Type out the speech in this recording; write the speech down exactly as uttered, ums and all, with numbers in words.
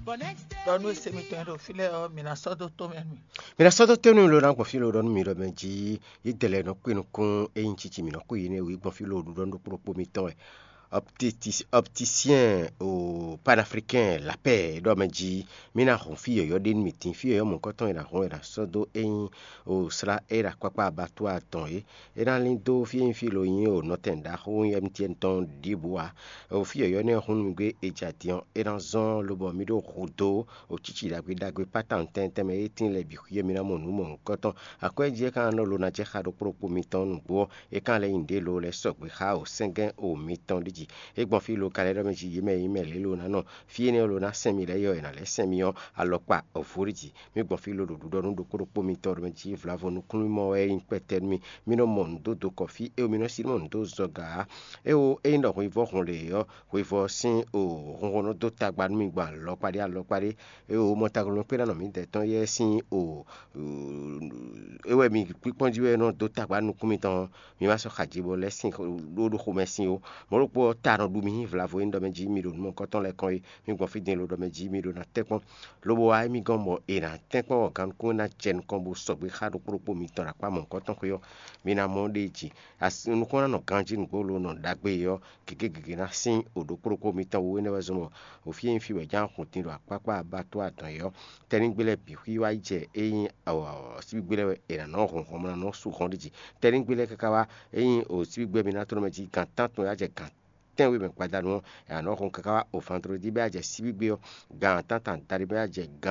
Ɖɔ nú e se mitɔn e ɖo fí lɛ́ɛ ɔ́, mi ná sɔ́ dó tó mɛ nú mì. Mi ná sɔ́ dó tó nú mì lo ná gbɔn fí lo ɖɔ nú mi ɖɔ mɛ jí, yě dɛ lɛ́ɛ nɔ kpé nukún ényí cici mǐ nɔ kú yě nɛ́ wú gbɔn fí lo ɖuɖɔ nú ɖokpó ɖokpó mitɔn wɛ. Optisyɛn o panafrikɛn lapɛ ɖɔ mɛ jí, mi ná hɔn fí yɔ̌yɔ́ ɖé nú mì dín, fí yɔ̌yɔ́ mɔ̌kɔtɔn e ná hɔn e ná sɔ́ dó ényí o slá e ɖo akpákpá abattoir tɔn é. É ná lín dó fí e nyí fí lo nyí o nɔtɛn ɖaxó nyí M T N tɔn ɖěbǔ ǎ. O fí yɔ̌yɔ́ nɛ́ hun nú mì gbé e jɛ adin ɔ́, é ná zɔ́n lobɔ mì ɖó hudó o cíci ɖagbe ɖagbe pátán tɛntɛn mɛ e tíin lɛ́ɛ bǐ xwíe mì ná mɔ nǔ mɔ̌hunkɔtɔn. Akwɛ́ jí é ka nɔ lo ná jɛ xá ɖokpó ɖokpó mitɔn nǔgbó ɔ́, é ka lɛ́ nyi ɖě lo lɛ́ sɔgbe xá o sɛ́ngɛ́n o mitɔn ɖi jí. É gbɔn fí lo ka lɛ́ ɖɔ mɛ jí yě mɛ e nyí mɛ lě lo ná nɔ fí énɛ́ lo ná sɛn mì lɛ́ɛ yɔ è nǎ lɛ́ sɛn mì ɔ́, alɔkpa ɔ̌vú ɖi jí. Mì gbɔn fí lo ɖo ɖuɖɔ nú ɖokpó ɖokpó mitɔn ɖo mɛ jí vlavo nukúnmimɔ wɛ é nyí kpɛtɛ nú mì. Mi nɔ mɔ nǔ dó dokɔ fí, éwo mi nɔ sí nɔ mɔ nǔ dó zɔga ǎ. Éwo ényí ɖɔ hweyivɔ́ hun lě ɔ́, hweyivɔ́ sín o hunhɔn nɔ dó tagba nú mi gbɔn alɔkpa ɖé alɔkpa ɖé. Éwo mɔ taglɔ́nukpéɖánɔ mǐdɛɛ tɔn yɛ́ sín o é wɛ mi kpíkpɔ́n jí wɛ nɔ dó tagba nú nukún mitɔn ɔ́, mi ma sɔ́ xaji bɔ lɛ́ sín ɖó ɖo xomɛ sín ó. Mɔ̌ ɖokpó ɔ́, ta nɔ ɖu mi nyí vlavo e nyí ɖɔ mɛ jí mi ɖo nǔ mɔ̌kɔtɔn lɛ́ɛ kɔn é. Mi gbɔn fí din lo ɖɔ mɛ jí mi ɖo ná tɛ́nkpɔ́n. Lobo wá émí gɔ́n bɔ è nǎ tɛ́nkpɔ́n wɔ gannukún ná jɛ nukɔn bó sɔgbe xá ɖokpó ɖokpó mitɔn ɖo akpá mɔ̌hunkɔtɔn xwé ɔ́, mi ná mɔ ɖ'é jí. Asi nukɔn ná nɔ ganjí nǔgbó lo nɔ ɖagbe ɔ́, gěgé gěgé ná sín o ɖokpó ɖokpó mitɔn wú énɛ́ wɛ zɔn bɔ o fí e nyí fí wɛ ján hun din ɖo akpákpá abattoir tɔn é ɔ́, tɛ́nnígbe lɛ́ɛ bǐ xwí wá yi jɛ é nyí síbígbe lɛ́ɛ wɛ è nǎ nɔ hɔn hɔn bó ná nɔ sú hɔn ɖ'é jí. Tɛ́nnígbe lɛ́ɛ káká wá é nyí o síbígbe mi ná tlɔ́ mɛ jí gan tántɔn yá jɛ gan tɛ́nwe mɛ gbadanu ɔ́, è nǎ nɔ hɔn káká wá o vandrodi bɔ é yá jɛ síbígbe ɔ́, gan tántɔn adaɖé bɔ é yá jɛ gan